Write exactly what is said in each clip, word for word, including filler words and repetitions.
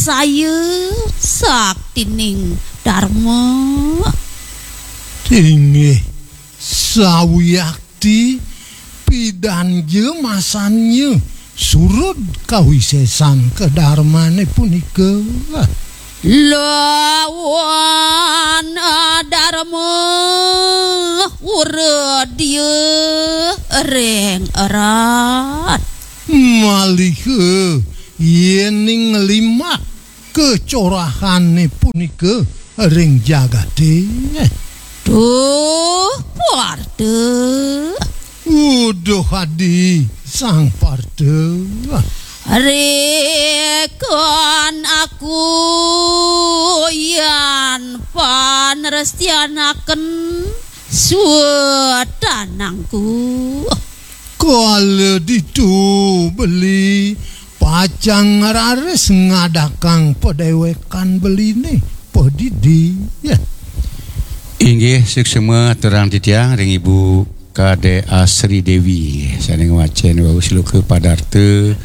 saya saktining Dharma. Inggih, sawiakti pidanja masanya surud kawisesan kadarmane punika. Lawan Dharma uredya ring erat. Malih yening limbak kacorahane punika ring jagate. Duh, Parta. Uduh adi, Sang Parta. Reken aku yan panrestianaken swetanangku. Kala ditu beli pacang raris ngadakang padewekan beline padidi. Ya. Inggih, suksma aturang titiang ring Ibu Kadek Asri Dewi, sane ngwacen wau sloka padarta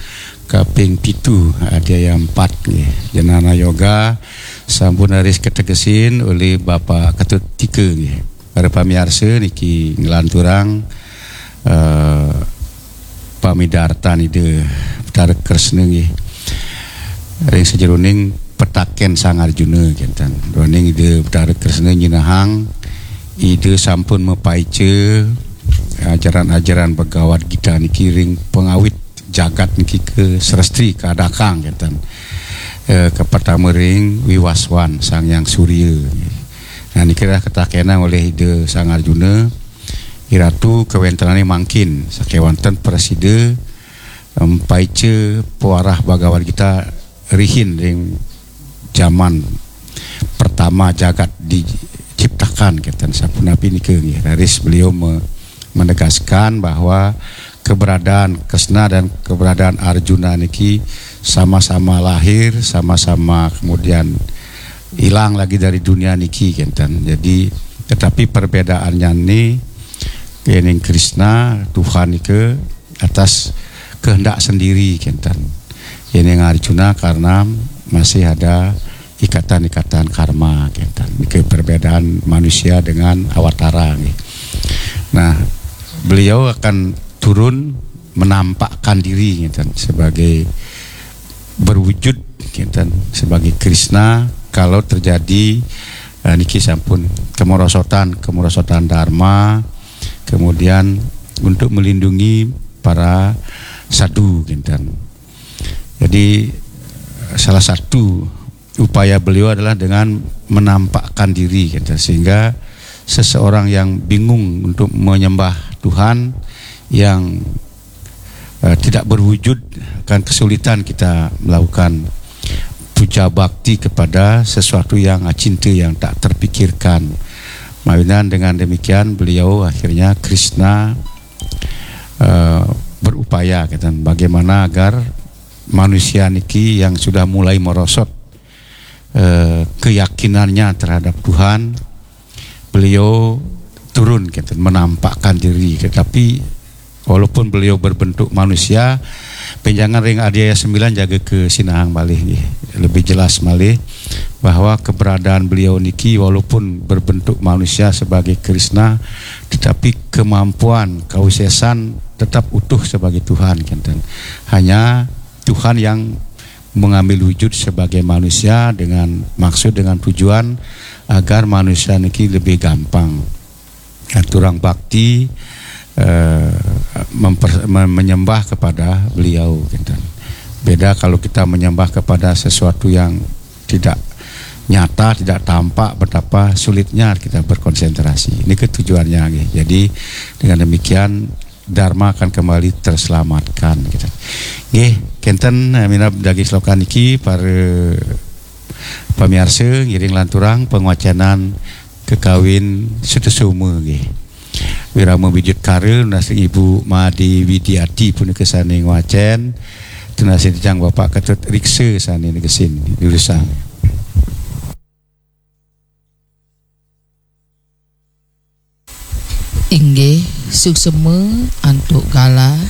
kaping pitu, adhyaya empat, nggih. Jnana Yoga sampun raris kategesin olih Bapak Ketut Tika, nggih. Para pamiarsa, niki nglanturang, eh, pamidartan Ida Betara Kresna, nggih, ring sajeroning petaken Sang Arjuna, kenten. Duaning Ida Betara Kresna nyinahang, Ida sampun mapaica ajaran-ajaran Bhagavad Gita niki ring pangawit jagat niki kasresti, kaadakang, kenten. Eh, kapertama ring Wiwaswan, Sang Hyang Surya. Nah, niki dah katakenang olih Ida Sang Arjuna, "Iratu, kawentenane mangkin, sakewanten prasida, em, paica pawarah Bhagavad Gita rihin ring jaman pertama jagat diciptakan," kenten. Sapunapi nika, nggih, raris beliau me-, menegaskan bahwa keberadaan Kresna dan keberadaan Arjuna niki sama-sama lahir, sama-sama kemudian hilang lagi dari dunia niki, kenten. Jadi, tetapi perbedaannya ni, yening Kresna, Tuhan nika atas kehendak sendiri, kenten. Yening Arjuna karena masih ada ikatan-ikatan karma, kenten. Nika perbedaan manusia dengan awatara, nggih. Nah, beliau akan turun menampakkan diri, kenten, sebagai berwujud, kenten, sebagai Kresna kalau terjadi, eh, niki sampun kemerosotan, kemerosotan Dharma, kemudian untuk melindungi para sadhu, kenten. Jadi, salah satu upaya beliau adalah dengan menampakkan diri, kenten, sehingga seseorang yang bingung untuk menyembah Tuhan, yang, eh, tidak berwujud, akan kesulitan kita melakukan puja bakti kepada sesuatu yang acinta, yang tak terpikirkan. Mawinan dengan demikian, beliau akhirnya, Kresna, eh, berupaya, kenten, bagaimana agar manusia niki yang sudah mulai merosot, eh, keyakinannya terhadap Tuhan, beliau turun, kenten, menampakkan diri. Tetapi walaupun beliau berbentuk manusia, benjangan ring adhyaya sembilan jaga kasinahang malih, nggih, lebih jelas malih bahwa keberadaan beliau niki walaupun berbentuk manusia sebagai Kresna, tetapi kemampuan kawisesan tetap utuh sebagai Tuhan, kenten. Hanya Tuhan yang mengambil wujud sebagai manusia dengan maksud, dengan tujuan agar manusia niki lebih gampang ngaturang bakti, eh, memper-, me-, menyembah kepada beliau, kenten. Beda kalau kita menyembah kepada sesuatu yang tidak nyata, tidak tampak, betapa sulitnya kita berkonsentrasi. Ini ketujuannya, nggih. Jadi, dengan demikian, Dharma akan kembali terselamatkan, gitu. Nggih, kenten, eh, minab daging sloka niki, para pamiarsa, ngiring lanturang pangwacenan kakawin Sutasoma, nggih. Wirama Widyutkara, nunas ring Ibu Made Widiati punika sane ngwacen, tunas ring titiang Bapak Ketut Riksa sane negesin, durusang. Inggih, suksema antuk galah